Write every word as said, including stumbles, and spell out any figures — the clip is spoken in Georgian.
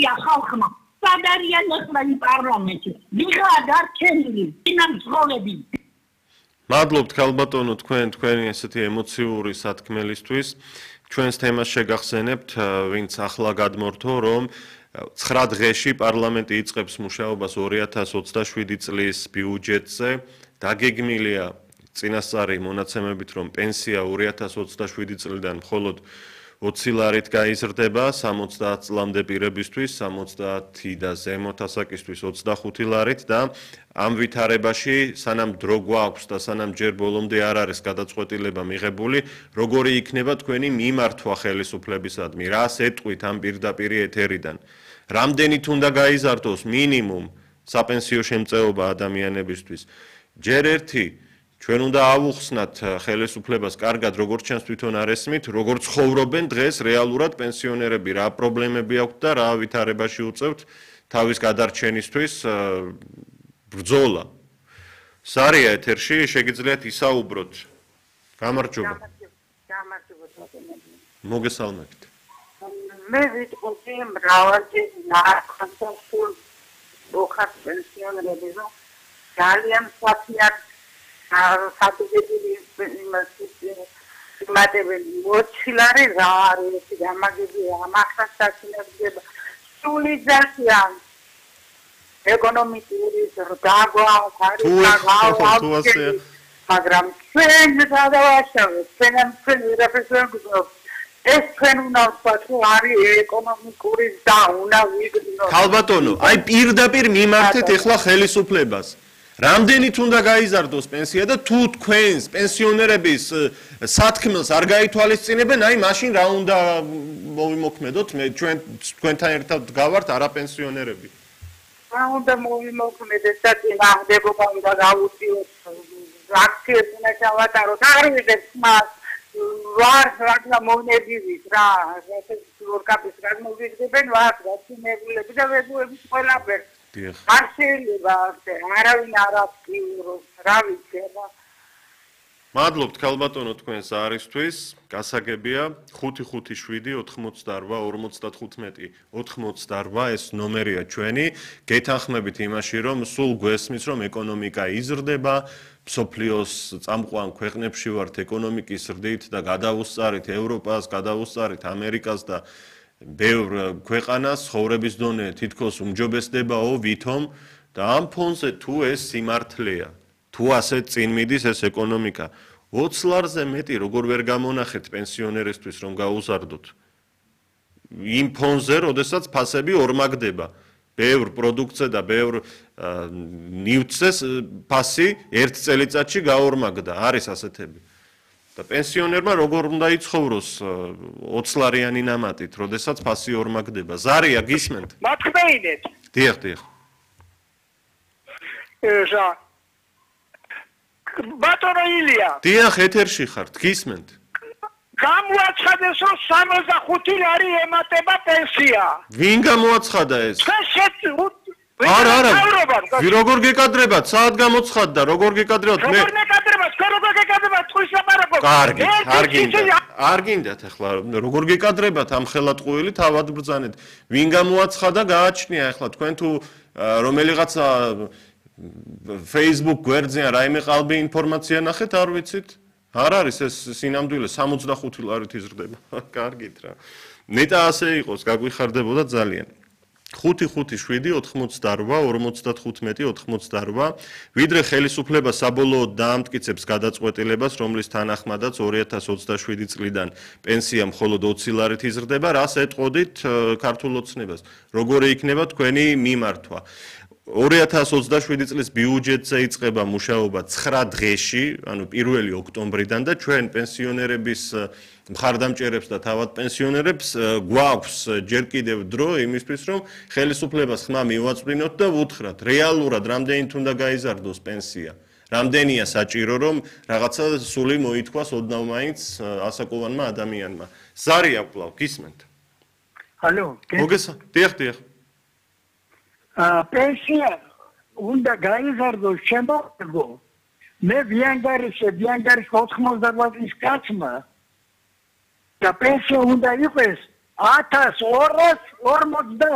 გასაგებია ხალხმა. სად არიან ახლა იმ პარლამენტში? ვიღაა დარჩენილი წინამძღოლები. მადლობთ ქალბატონო თქვენ თქვენი ესეთი ემოციური სათქმელისთვის. ჩვენს თემას შეგახსენებთ, ვინც ახლა გადმორთო, რომ ცხრა დღეში პარლამენტი იწყებს მუშაობას ორი ათას ოცდაშვიდი წლის ბიუჯეტზე. დაგეგმილია წინასწარი მონაცემებით, რომ პენსია ორი ათას ოცდაშვიდი წლიდან მხოლოდ ოცი ლარით გაიზრდება, სამოცდაათ წლამდე პირებისთვის, სამოცდაათი და ზემოთ ასაკისთვის ოცდახუთი ლარით და ამ ვითარებაში, სანამ დრო გვაქვს და სანამ ჯერ ბოლომდე არ არის გადაწყვეტილება მიღებული, როგორი იქნება თქვენი მიმართვა ხელისუფლებისადმი, რას ეტყვით ამ პირდაპირი ეთერიდან. რამდენით უნდა გაიზარდოს მინიმუმ საპენსიო შემწეობა ადამიანებისთვის. ჯერ ერთი ჩვენ უნდა ავუხსნათ ხელისუფლებას კარგად, როგორც ჩანს თვითონ არ ესმით, როგორ ცხოვრობენ დღეს რეალურად პენსიონერები, რა პრობლემები აქვთ და რა ვითარებაში უწევთ თავის გადარჩენისთვის ბრძოლა. სარია ეთერში, შეგიძლიათ ისაუბროთ. გამარჯობა. მოგესალმებით. მე ვიტყოდი მრავალი ნარკომსულ ოქარ პენსიონერები, რომ ძალიან საფიად სადუგებული იმატებელი ოცი ლარი რა არის გამაგებია ამახას დაწინებდება სული ძალიან ეკონომიკური ზრდაგვა არის მაგრამ ჩვენ გადავაშავეთ ჩვენ ჩვენ ვირაფერს ეს ჩვენ უნდა ვთქვათ რომ არის ეკონომიკური და უნდა ვიგრძნოთ ქალბატონო აი პირდაპირ მიმართეთ ეხლა ხელისუფლებას რამდენით უნდა გაიზარდოს პენსია და თუ თქვენს პენსიონერების სათქმელს არ გაითვალისწინებენ, აი მაშინ რა უნდა მოვიმოქმედოთ? მე ჩვენ თქვენთან ერთად გავართ არაპენსიონერები. რა უნდა მოვიმოქმედეთ და წინააღმდეგობა უნდა გავუწიოთ აქციებს უნდა ჩავატაროთ. არ ვიღებთ მას ვარ რა მონებივით რა ეს ორკაპის რა მოვიგდებენ ვარ გაცინებულები და ვებუების ყველაფერს არ შეიძლება არავინ არ აქტიურობს, რა ვიცი რა. მადლობთ ქალბატონო თქვენს არისთვის, გასაგებია ხუთი ხუთი შვიდი ოთხმოცდაორვა ორმოცდათხუთმეტი ოთხმოცდაორვა ეს ნომერია ჩვენი, გეთანხმებით იმაში, რომ სულ გვესმის, რომ ეკონომიკა იზრდება, მსოფლიოს წამყვან ქვეყნებში ვართ ეკონომიკის ზრდით და გადავუსწარით ევროპას, გადავუსწარით ამერიკას და ბევრ ქვეყანას ცხოვრების დონე თითქოს უმჯობესდებაო ვითომ და ამ ფონზე თუ ეს სიმართლეა თუ ასე წინ მიდის ეს ეკონომიკა ოცი ლარზე მეტი როგორ ვერ გამონახეთ პენსიონერისთვის რომ გაუზარდოთ იმ ფონზე როდესაც ფასები ორმაგდება ბევრ პროდუქტზე და ბევრ ნივთზე ფასი ერთ წელიწადში გაორმაგდა არის ასეთები და პენსიონერმა როგორ უნდა იცხოვროს ოცი ლარიანი ნამატით, როდესაც ფასი ორმაგდება. ზარია გისმენთ? მათქმეინეთ. დიახ, დიახ. ესა. ბატონო ილია. დიახ, ეთერში ხართ, გისმენთ. გამოაცხადეს რომ სამოცდახუთი ლარი ემატება პენსია. ვინ გამოაცხადა ეს? არა, არა. როგორ გეკადრებათ? საათ გამოცხადდა, როგორ გეკადრებათ? მე როგორ გეკადრებათ? როგორ გეკადრებათ? თქვის ლაპარაკობ. კარგი, არ გინდათ. არ გინდათ ახლა როგორ გეკადრებათ ამ ხელატყუილი თავად ბრძანეთ. ვინ გამოაცხადა, გააჩნია ახლა თქვენ თუ რომელიღაცა Facebook გვერდზე რაიმე ყალბი ინფორმაცია ნახეთ, არ ვიცით? არ არის ეს სინამდვილე სამოცდახუთი ლარით იზრდება. კარგით რა. ნეტა ასე იყოს, გაგვიხარდებოდა ძალიან. ხუთი ხუთი შვიდი ოთხმოცდაორვა ორმოცდათხუთმეტი ოთხმოცდაორვა ვიდრე ხელისუფლება საბოლოოდ დაამტკიცებს გადაწყვეტილებას, რომლის თანახმადაც ორი ათას ოცდაშვიდი წლიდან პენსია მხოლოდ ოცი ლარით იზრდება, რას ეტყოდით ქართულ ოცნებას? როგორი იქნება თქვენი მიმართვა? ორი ათას ოცდაშვიდი წლის ბიუჯეტზე იწყება მუშაობა ცხრა დღეში, ანუ პირველი ოქტომბრიდან და ჩვენ პენსიონერების მხარდამჭერებს და თავად პენსიონერებს გვაქვს ჯერ კიდევ დრო იმისთვის, რომ ხელისუფლებას ხმა მივაწვდინოთ და ვუთხრათ, რეალურად რამდენით უნდა გაიზარდოს პენსია. რამდენია საჭირო, რომ რაღაცა სული მოითქვას ოდნავ მაინც ასაკოვანმა ადამიანმა. ზარია კვლავ გისმენთ? ალო, მოგესა? დიახ, დიახ. პენსია უნდა გაიზარდოს შემოგვიგო. მე ვიანგარიშე, ვიანგარიშე ოთხმოცდაორვა წლის კაცმა და პენსია უნდა იყოს ათას ორას ორმოცდა